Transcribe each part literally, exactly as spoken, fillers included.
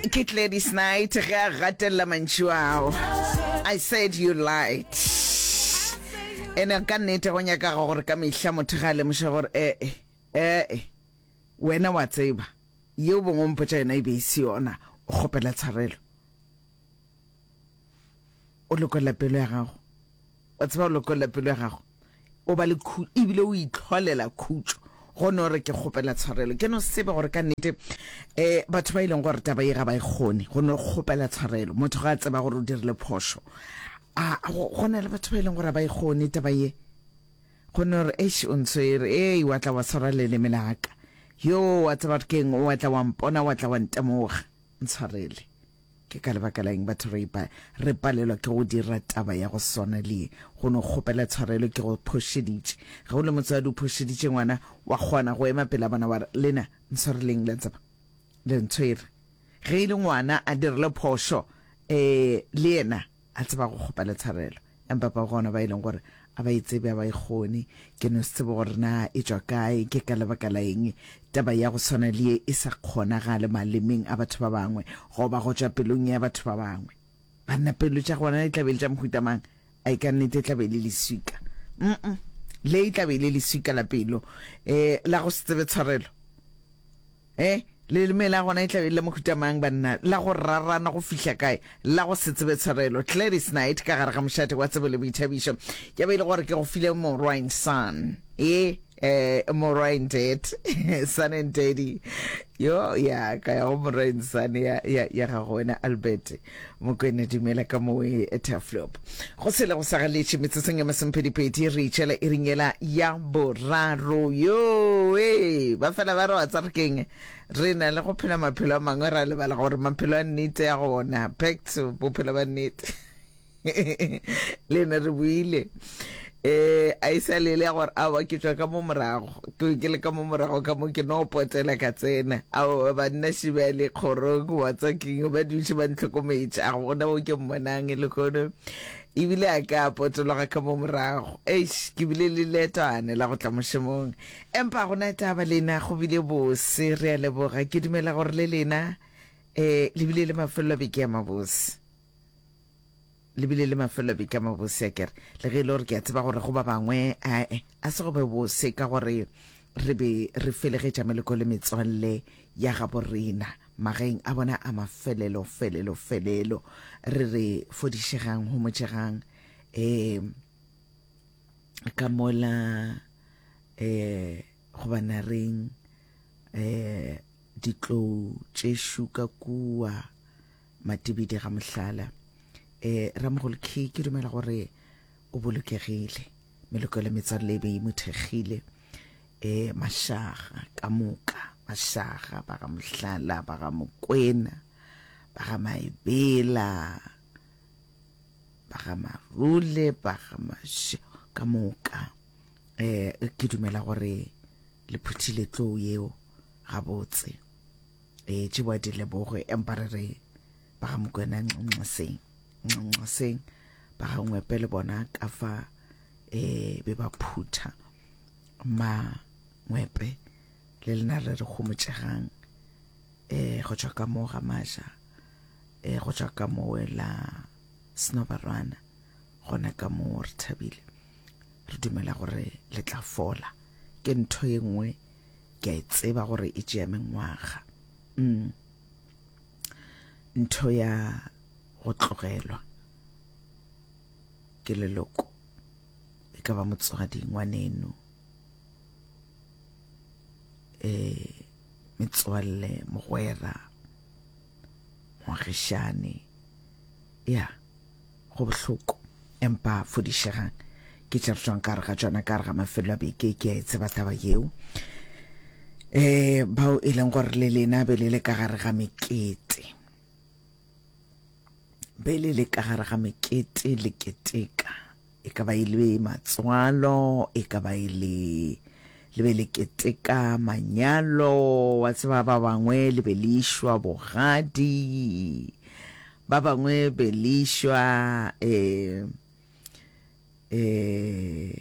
Ke Gladys Knight ge a gatelela mantšu ao. I said you lied. Ene ka nnete go nyakaga gore ka mehla motho ga a lemoša gore ee ee wena wa tseba yeo bongwe o mpotša yona e be e se yona, o kgopela tshwarelo, o lokolla pelo ya gago, wa tseba o lokolla pelo ya gago, o ba le khu ebile o itlholela khutšo go no re ke kgopela tshwarelo. Ke no tsebe gore ka nnete um batho ba e leng gore taba ye ga ba e kgone go no kgopela tshwarelo, motho ga a tseba gore o dirile phošo, a go na le batho ba e leng gore ga ba e kgone taba ye, go no re eish o ntshwere, ei wa tla wa tshwara leleme la ka, yo wa tseba gore keng, wa tla wa mpona, wa tla wa ntemoga, ntshwarele. Ke ka lebaka la eng batho re ipa re palelwa ke go dira taba ya go swana le ye, go no kgopela tshwarelo ke go phošeditše. Ge o le motswadi o phošeditše ngwana, wa kgona go ema pela bona wa re lena ntshwareleng, le tseba le ntshwere. Ge e le ngwana a dirile phošo um le yena a tseba go kgopela tshwarelo, empa ba gona ba e leng gore a ba e tsebe, a ba e kgone. Ke no se tsebe gore na e tšwa kae, ke ka lebaka la eng taba ya go swana le ye e sa kgonagale malemeng a batho ba bangwe goba go tšwa pelong ya batho ba bangwe. Banna pelo tša gona e tla be e le tša mohuta mang? A e ka nnete e tla be e le leswika? Mm le e tla be e le leswika la pelo um la go se tsebe tshwarelo. Eh leleme la gona e tla be e le mohuta mang banna, la go rarana go fihla kae, la go se tsebe tshwarelo. Gladys Knight ka gare ga mošate wa tsebo le boithabišo, ya be e le gore ke go file morwa and son, e eh morwa and dad, son and daddy, yo ya ka ya go morwa and son ya ya ya gago wena Albert Mokwena, dumela ka mowe Turfloop. Go sele go sa galetše metsotsong ya masomphedipedi re itšela e ringela ya boraro. Yo e ba fela ba re wa tsa re keng, re na le go phela maphelo a mangwe, ra lebala gore maphelo a nnete ya gona, back to bophelo ba nnete. Le ne re buile eh a isa le le gore awa ke tšwa ka mo morago, ke ke le ka mo morago ka mo ke no potela ka tsena, ao banna šibale kgorong wa tsa keng ba dutše ba ntlhokometše, a gona mo ke mmonang le kono ebile a ka potologa ka mo morago. Eish, ke bile le leetwane la go tla mošomong, empa gona taba lena go bile bose, re a leboga. Ke dumela gore le lena eh le bile le mafelelo a beke ya mabose, le bile le mafelelo a beke a mabose a kere, le ge e le gore ke a tseba gore go ba bangwe ae a se go be bose ka gore re be re felegetša meloko le metswalle ya gabo rena magaeng a bona a mafelelo felelo felelo, re re fodišegang homotšegang um ka mola um goba nareng um ditlou tšešo ka kua Matibidi ga mohlala. Eh Ramogolo Key, ke dumela gore o bolokegile, meloko le metswalle e be e mo thekgile, eh mašaga ka moka, mašaga ba ga mohlala, ba ga Mokwena, ba ga Maebela, ba ga Marule, ba ga Maše ka moka, eh ke dumela gore le phuthile tlou yeo gabotse, eh tšebo di leboge, empa re re ba ga Mokwena nxeng nxeng, ba ga Ngwepe le bona ka fa eh be ba phutha ma Ngwepe le lena re re gomotšegang eh go tšwa ka mo ga Maja, eh go tšwa ka mo la Snobarwana, gona ka mo re thabile, re dumela gore le tla fola. Ke ntho ye nngwe ke a e tseba gore e tšea mengwaga, mm ntho ya go tlogelwa ke leloko, e ka ba motswadi, ngwaneno, eh metswalle, mogwera, moagišane, ya go bohloko, empa fodišegang. Ke tše re tšwang ka gare ga tšona ka gare ga mafelo a beke, ke a e tseba taba yeo. Eh bao e leng gore le lena be le le ka gare ga mekete, be le le ka gare ga mekete le keteka, e ka ba e le matswalo, e ka ba e le le be le keteka manyalo, wa tseba ba bangwe le be le išwa bogadi, ba bangwe be le išwa eh eh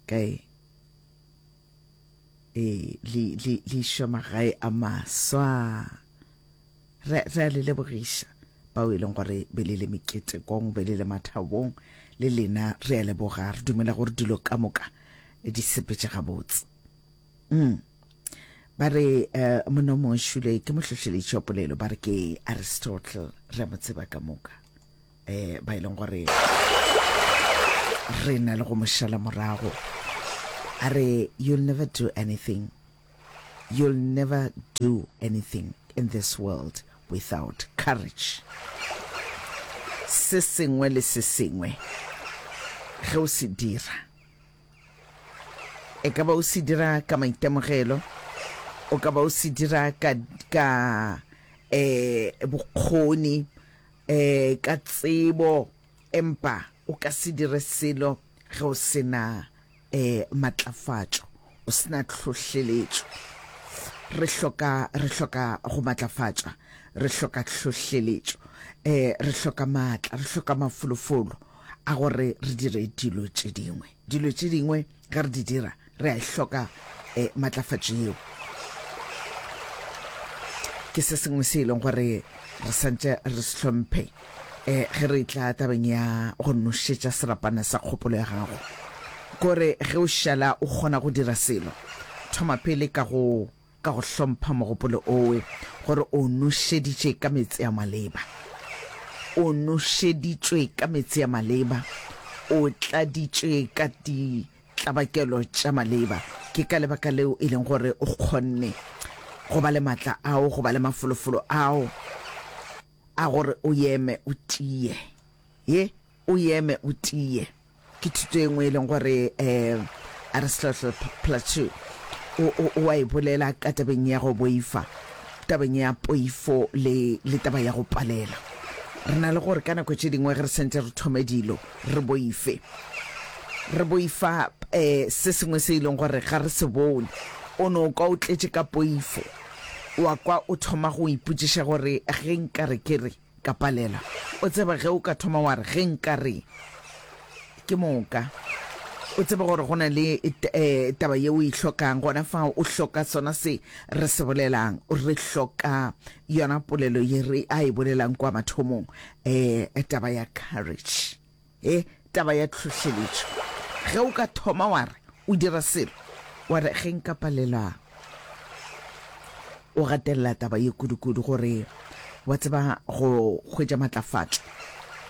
kae eh le le le išwa magae a maswa. Re, re a le lebogiša bao e leng gore be le le meketekong, be le le mathabong, le lena re a leboga. Re dumela gore dilo ka moka di sepetše gabotse. Mm. Ba re uh, monna o mongwe šule ke mohlohleletši wa polelo, ba re ke Aristotle, re a mo tseba ka moka. Eh, ba e leng gore re na le go mo šala morago. A re, you'll never do anything, you'll never do anything in this world without courage. Se sengwe le se sengwe ge o se dira, e ka ba o se dira ka maitemogelo, o ka ba o se dira ka, ka eh, bokgoni, eh, ka tsebo, empa o ka se dire selo ge o se na eh, matlafatšo, o se na tlhohleletšo. Re hloka, re hloka go matlafatšwa, re hloka tlhohleletšo, eh, re hloka maatla, re hloka mafolofolo a gore re dire dilo tše dingwe. Dilo tše dingwe ge re di dira, re a e hloka eh, matlafatšo yeo. Ke se sengwe se e leng gore re santše re se hlomphe eh, ge re tla tabeng ya go nošetša serapana sa kgopolo ya gago. Kore ge o šala o kgona go dira selo, thoma pele ka go ka go hlompha mogopolo owe gore o nošeditše ka meetse a maleba. O nošeditšwe ka meetse a maleba, o tladitšwe ka ditlabakelo tša maleba. Ke ka lebaka leo e leng gore o kgonne go ba le matla ao, go ba le mafolofolo ao a gore o eme o tie. Ye, o eme o tie. Ke thuto e nngwe e leng gore um Aristotle Plateau o, o, o a e bolela ka tabeng ya go boifa, tabeng ya poifo le, le taba ya go palela. Re na le gore ka nako tše dingwe ge re santše re thome dilo, re boife. Re boifa eh, se sengwe se e leng gore ga re se bone. O no kwa o tletše ka poifo, wa kwa o thoma go ipotšiša gore ge nka re ke re ka palela. O tsebe ge o ka thoma wa re ge nka re ke moka, o tsebe gore go na le eh, taba ye o e hlokang gona fa. O hloka sona se re se bolelang, re hloka yona polelo ye re a e bolelang kwa mathomong, eh, taba ya courage, eh, taba ya tlhohleletšo. Ge o ka thoma wa re o dira selo, wa re ge nka palelwa, o gatelela taba ye kudu-kudu gore wa tseba go hwetša matlafatšo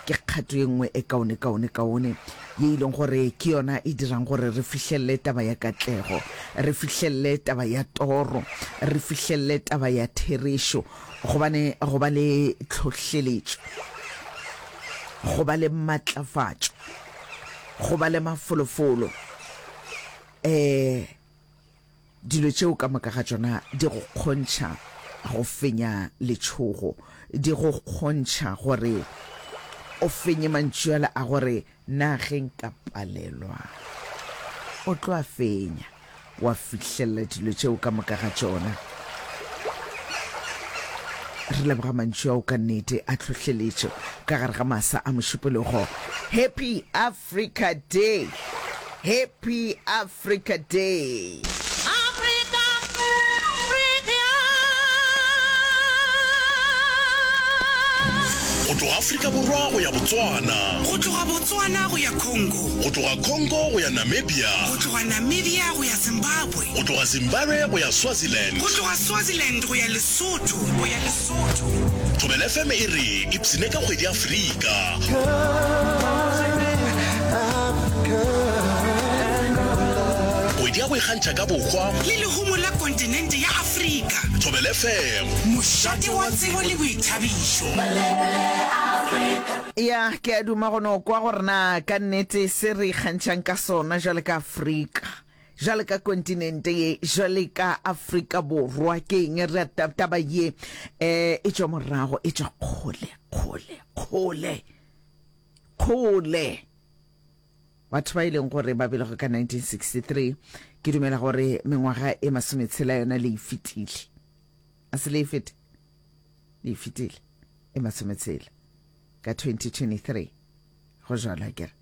ke kgato ye nngwe e kaone kaone kaone ye e leng gore ke yona e dirang gore re fihlelele taba ya katlego, re fihlelele taba ya toro, re fihlelele taba ya therešo. Gobane go ba le tlhohleletšo, go ba le matlafatšo, go ba le mafolofolo, eh dilo tšeo ka moka ga tšona di go kgontšha go fenya letšhogo, di go kgontšha gore o fenye mantšu ale a gore na ge nka palelwa. O tlo a fenya, wa fihlelela dilo tšeo ka moka ga tšona. Re leboga mantšu ao ka nnete a tlhohleletšo ka gare ga masa a Mošupologo. Happy Africa Day! Happy Africa Day! Africa, Africa. Go tloga Afrika Borwa go ya Botswana, Go tloga Botswana go ya Congo, go tloga Congo go ya Namibia, go tloga Namibia go ya Zimbabwe, go tloga Zimbabwe go ya Swaziland, go tloga Swaziland go ya Lesotho, go ya Lesotho. Thobela F M e re ipsene ka kgwedi ya Afrika. Kgwedi ya go ikgantšha ka bohwa le lehumo la kontinente ya Afrika. Thobela F M, mošate wa tsebo le boithabišo. Ya, ke a duma go no kwa gore na ka nnete se re ikgantšhang ka sona jwale ka Afrika, jwale ka kontinente ye, jwale ka Afrika Borwa ke eng. Re taba ye eh e tšwa morago, e tšwa kgole kgole kgole kgole. Batho ba e leng gore ba belegwe ka nineteen sixty-three, ke dumela gore mengwaga e masometshela yona le e fetile. A se le e fete? Le e fetile e masometshela ka twenty twenty-three. Go jwalo akere?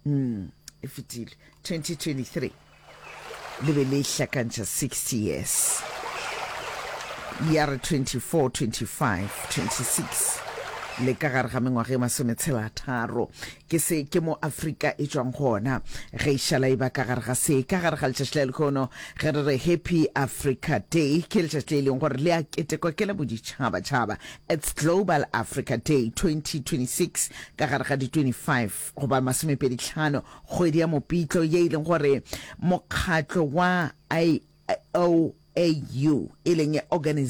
Mm, e fetile twenty twenty-three. Le be le hlakantšha sixty years. Ya re twenty-four, twenty-five, twenty-six le ka gare ga mengwaga e masometshela tharo. Ke se ke mo Afrika e tšwang gona ge e šala e ba ka gare ga se. Ka gare ga letšatši la lehono ge re re Happy Africa Day, ke letšatši le e leng gore le a ketekwa ke la boditšhabatšhaba. It's Global Africa Day twenty twenty-six ka gare ga di twenty-five goba masomepedi tlhano kgwedi ya Mopitlo, ye e leng gore mokgatlo wa I O A U e leng Organization